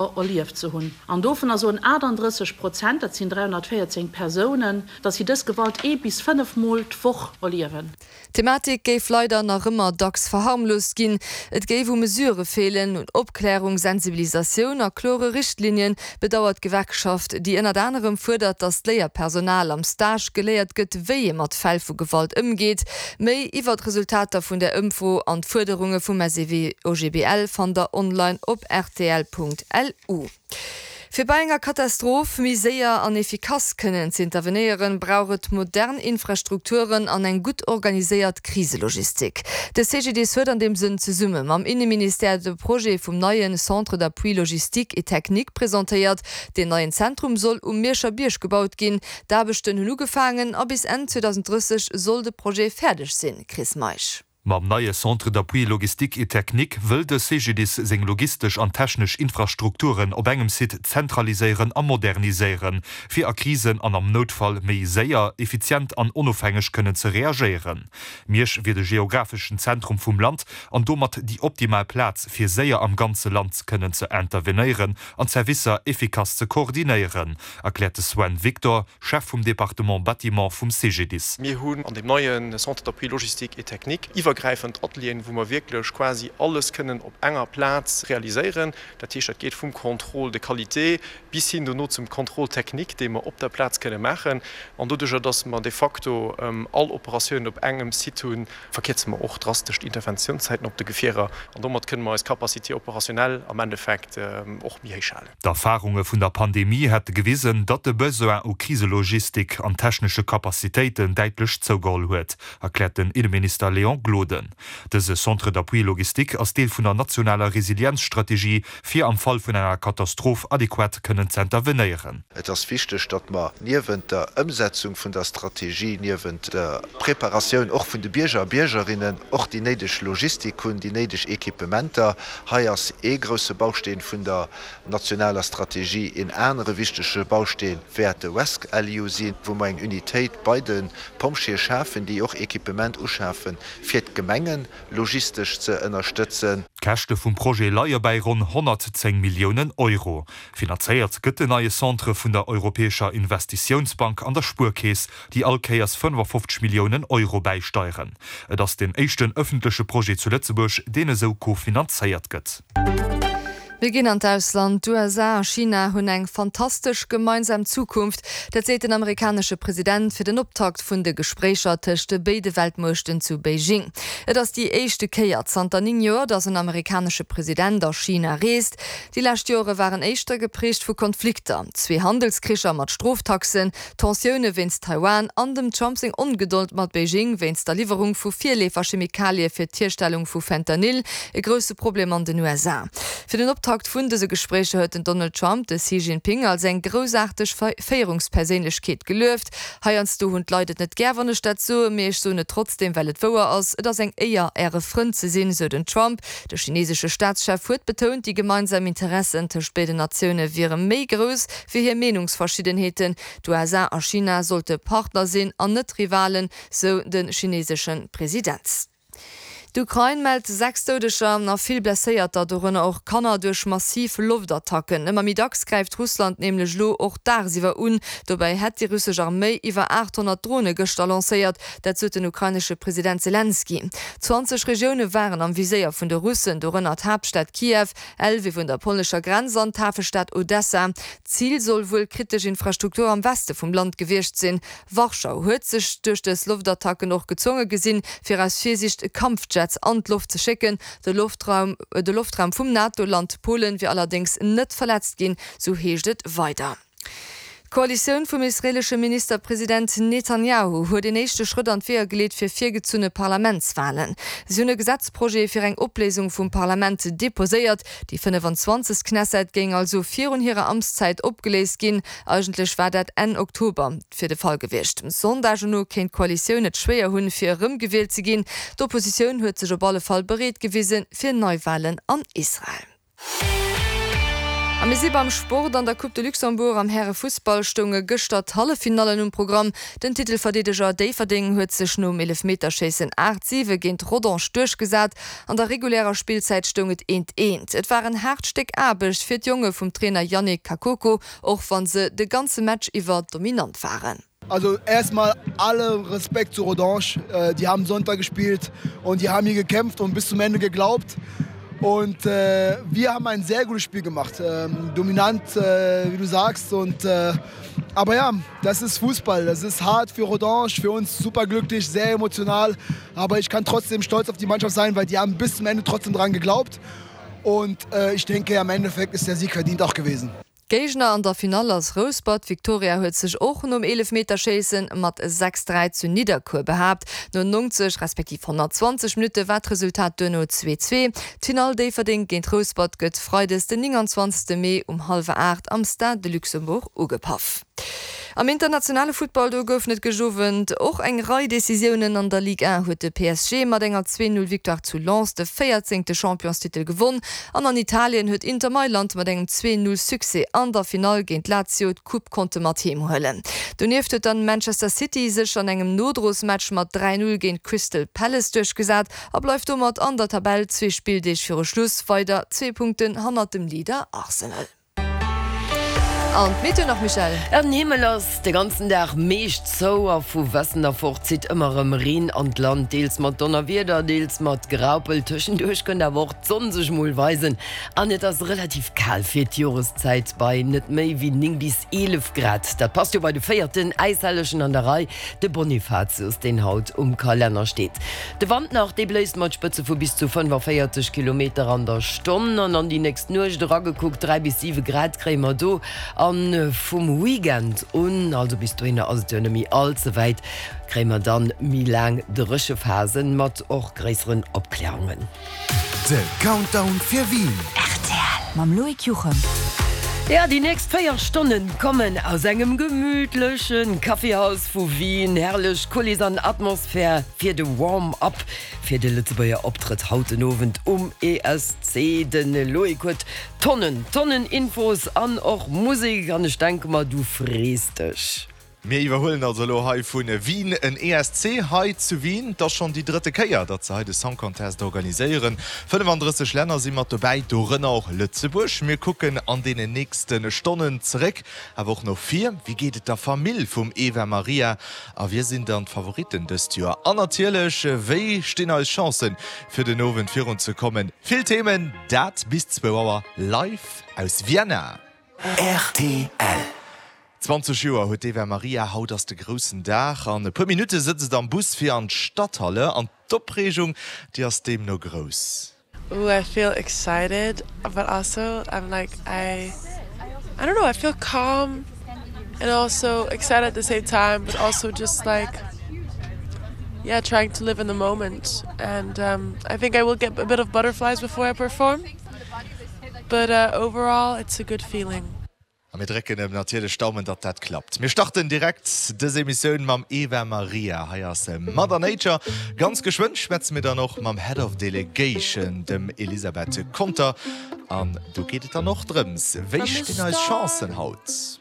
Erlieft ze hunn. An dovunner soen 38 Prozent, dat sinn 314 Persounen, datt si dës Gewalt ee bis 5 Mol d'Woch erliewen. D'Thematik géif leider nach ëmmer dacks verharmloost ginn. Et géif u Mesurë feelen, un Opklärung, Sensibilisatioun a klore Richtlinien, bedauert d'Gewerkschaft, déi ënnert anerem fuerdert, datt d'Léierpersonal am Stage geléiert gëtt, wéi ee mat Fäll vu Gewalt ëmgeet. Méi iwwer d'Resultater vun där Ëmfro an d'Fuerderunge vum SEW-OGBL fannt der online op rtl.lu. Fir bei enger Katastroph méi séier an efficace kënnen z'intervenéieren, brauch et modern Infrastrukturen an eng gutt organiséiert Kriselogistik. De CGDIS huet an deem Sënn zesumme mam Inneministère de Projet vum neie Centre d'appui logistique et technique presentéiert. Deen neien Zentrum soll um Mierscher Bierg gebaut ginn. D'Aarbechten hunn ugefaangen a bis Enn 2030 soll de Projet fäerdeg sinn. Chris Meisch. Mam neie Centre d'appui logistique et technique wëll de CGDIS seng logistesch an technesch Infrastrukturen op engem Site zentraliséieren a moderniséieren, fir a Krisen an am Noutfall méi séier, effizient an onofhängeg kënnen ze reagéieren. Miersch wier de geographeschen Zentrum vum Land an domat déi optimal Plaz, fir séier am ganze Land kënnen ze intervenéieren an d'Servicer effikass ze koordinéieren, erkläert de Sven Victor, Chef vum Département Bâtiment vum CGDIS. Mir hunn an deem neie Centre d'appui logistique et technique iwwergräifend Atelieren, wou mer wierklech quasi alles kënnen op enger Plaz realiséieren. Dat heescht, dat geet vum Contrôle de qualité bis hin dono zum Contrôle technique, dee mer op der Plaz kënne maachen. An doduerjer, dass mer de facto all Operatiounen op engem Site hunn, verkierze mer och drastesch d'Interventiounszäiten op de Gefierer an domat kënne mer eis Capacité opérationnelle am Endeffekt och méi héich halen. D'Erfarunge vun der Pandemie hätte gewisen, datt de Besoin u Kriselogistik an technesche Capacitéiten däitlech zougeholl huet, erkläert den Inneminister Léon Gloden. Dëse Centre d'appui logistique ass Deel vun der nationaler Resilienzstrategie, fir am Fall vun enger Katastroph adequat kënnen z'intervenéieren. Et ass wichteg, datt mer niewent der Ëmsetzung vun der Strategie, niewent der Preparatioun och vun de Bierger a Biergerinnen, och déi néideg Logistik hunn, déi néideg Equipementer. Hei ass ee grousse Bausteen vun der nationaler Strategie. Een anere wichtege Bausteen wäert de RescLU sinn, wou mer eng Unitéit bei de Pompjeeë schafen, déi och Equipement uschafen, fir d'Gemengen logistesch ze ënnerstëtzen. D'Käschte vum Projet leie bäi ronn 110 Milliounen Euro. Finanzéiert gëtt den neie Centre vun der Europäescher Investitiounsbank an der Spuerkeess, déi all Kéiers 55 Milliounen Euro bäisteieren. Et ass deen éischten ëffentleche Projet zu Lëtzebuerg, deen esou kofinanzéiert gëtt. Mir ginn an d'Ausland. D'USA a China hunn eng fantastesch gemeinsam Zukunft. Dat seet den amerikanesche President fir den Optakt vun de Gespréicher tëscht de béide Weltmuechten zu Beijing. Et ass déi éischte Kéier zanter 9 Joer, datt en amerikanesche President a China reest. Déi lescht Joere waren éischter geprägt vu Konflikter, zwee Handelskricher mat Stroftaxen, Tensioune wéinst Taiwan an dem Trump seng Ongedold mat Beijing wéinst der Liwwerung vu Virleeferchemikalie fir d'Hierstellung vu Fentanyl, e grousse Problem an den USA. Fir den Optakt vun dëse Gespréicher huet den Donald Trump de Xi Jinping als eng groussaarteg Féierungsperséinlechkeet gelueft. Heiansdo hunn d'Leit et net gär, wann ech dat soen, mee ech soen et trotzdeem, well et wouer ass, Et ass eng Éier, Äre Frënd ze sinn, sou den Trump. De chinesesche Staatschef huet betount, déi gemeinsam Interessen tëscht béiden Natioune wiere méi grouss wéi hir Meenungsverschiddenheeten. D'USA a China sollte Partner sinn an net Rivalen, sou de chinesesche President. D'Ukrain mellt 6 Doudeger a vill Blesséierter, dorënner och Kanner, duerch massiv Loftattacken. Ëmmer méi dacks gräift Russland nämlech elo och dagsiwwer un. Dobäi hätt déi russesch Arméi iwwer 800 Drone gëschter lancéiert, dat sot den ukrainesche President Selenskyj. 20 Regioune waren am Viséier vun de Russen, dorënner d'Haaptstad Kiew, Lwiw un der polnescher Grenz an d'Hafestad Odessa. D'Zil soll wuel kritesch Infrastruktur am Weste vum Land gewiescht sinn. Warschau huet sech duerch dës Loftattacken och gezwonge gesinn, fir aus Virsiicht Kampfjets an d'Loft ze schécken. De Loftraum de Loftraum vum NATO-Land Polen wier allerdéngs net verletzt ginn, sou heescht et weider. D'Koalitioun vum israeelesche Ministerpresident Netanjahu huet een éischte Schrëtt an d'Weeër geleet fir virgezunne Parlamentswalen. Si hunn e Gesetzprojet fir eng Opléisung vum Parlament deposéiert. Déi 25. Knesset géing also virun hirer Amtszäit opgeléist ginn. Eigentlech war dat Enn Oktober fir de Fall gewiescht. Sondagen no kéint d'Koalitioun et schwéier hunn, fir erëmgewielt ze ginn. D'Oppositioun huet sech op alle Fall bereet gewisen fir Neiwalen an Israel. A mir si beim Sport. An der Coupe de Luxembourg am Härefussball stounge gëschter d'Halleffinallen um Programm. Den Titelverdeedeger Déifferdeng huet sech nom Eelefmeterschéissen 8, 7 géint Rodange duerchgesat. An der regulärer Spillzäit stoung et eent, eent. Et war en haart Stéck Aarbecht fir d'Jonge vum Trainer Yannick Kakoko, och wann se de ganze Match iwwer dominant waren. Also erstmal alle Respekt zu Rodange, die haben Sonntag gespielt und die haben hier gekämpft und bis zum Ende geglaubt. Und äh, wir haben ein sehr gutes Spiel gemacht, ähm, dominant, äh, wie du sagst. Und, äh, aber ja, das ist Fußball, das ist hart für Rodange, für uns superglücklich, sehr emotional. Aber ich kann trotzdem stolz auf die Mannschaft sein, weil die haben bis zum Ende trotzdem dran geglaubt. Und äh, ich denke, am Endeffekt ist der Sieg verdient auch gewesen. Géigner an der Finall ass Rouspert. D'Victoria huet sech och nom Eelefmeterschéisse mat 6, 3 zu Nidderkuer behaapt. No 90 respektiv 120 Minutte war d'Resultat duerno 2, 2. D'Finall Déifferdeng géint Rouspert gëtt freides den 29 Mee um hallwer 8 am Stade de Luxembourg ugepaff. Am internationale Futtball, do goufen et gëscht Owend och eng Rei Decisiounen. An der Ligue 1 huet de PSG mat enger 2, 0 Victoire zu Lens de véierzéngte Championstitel gewonn an an Italien huet Inter Mailand mat engem 2, 0 Succès an der Finall géint Lazio d'Coupe konnte mat heem huelen. Donieft huet dann Manchester City sech an engem Nodrosmatch mat 3, 0 géint Crystal Palace duerchgesat a bleift domat an der Tabell zwee Spilldeeg viru Schluss weider zwee Punkten hannert dem Leader Arsenal. An d'Meteo nach, Michèle? Den Himmel ass de ganzen Dag meescht zou a vu Westen erfort zitt ëmmer erëm Reen an d'Land, deels mat Donnerwieder, deels mat Graupel. Tëschenduerch kënnt awer och d'Sonn sech mol weisen an et ass relativ kal fir d'Joreszäit bei net méi wéi 9 bis 11 Grad. Dat passt jo bei de véierten Äishellegen an der Rei, de Bonifatius, deen haut um Kalenner steet. De Wand nach, dee bléist mat Spëtze vu bis zu 45 Kilometer an der Stonn. An an déi nächst Nuecht eragekuckt, 3 bis 7 Grad kréie mer do. A vum Weekend un, also bis dohinner ass et jo net méi all ze wäit, kréie mer dann méi laang Dréchephasen mat och gréisseren Opklärungen. De Countdown fir Wien. Rtl mam Loïc Juchem. Ja, déi nächst 4 Stonnen kommen aus engem gemütlechen Kaffeehaus vu Wien. Herrlech Kuliss an Atmosphär fir de Warm-up fir de Lëtzebuerger Optrëtt haut den Owend um ESC. De Loïc huet Tonnen, Tonnen Infos an och Musek an ech denke mer, du frees dech. Mir iwwerhuelen also elo hei vu Wien en ESC hei zu Wien. Et ass schonn déi drëtte Kéier, datt se hei de Song Contest organiséieren. 35 Länner si mat dobäi, dorënner och Lëtzebuerg. Mir kucken an deenen nächste Stonnen zeréck, awer och no vir. Wéi geet et der Famill vum Eva Marija a wie sinn dann d'Favoritten dëst Joer? An natierlech, wéi stinn eis Chancen, fir den Owend virun ze kommen? Vill Themen, dat bis zwou Auer live aus Vienna. Rtl. 20 Joer huet d'Eva Marija, haut ass de groussen Dag. An e puer Minutte sëtzt et am Bus fir an d'Stadthalle an d'Opreegung, déi ass deemno grouss. Ooh I feel excited but also I'm like I I don't know I feel calm and also excited at the same time but also just like yeah trying to live in the moment and um I think I will get a bit of butterflies before I perform but uh overall it's a good feeling. A mir drécken em natierlech d'Daumen, datt dat klappt. Mir starten direkt dës Emissioun mam Eva Marija. Hei ass Mother Nature. Ganz geschwënn schwätze mir dann och mam Head of Delegation, dem Elisabeth Conter. An do geet et dann och drëms, wéi stinn eis Chancen haut?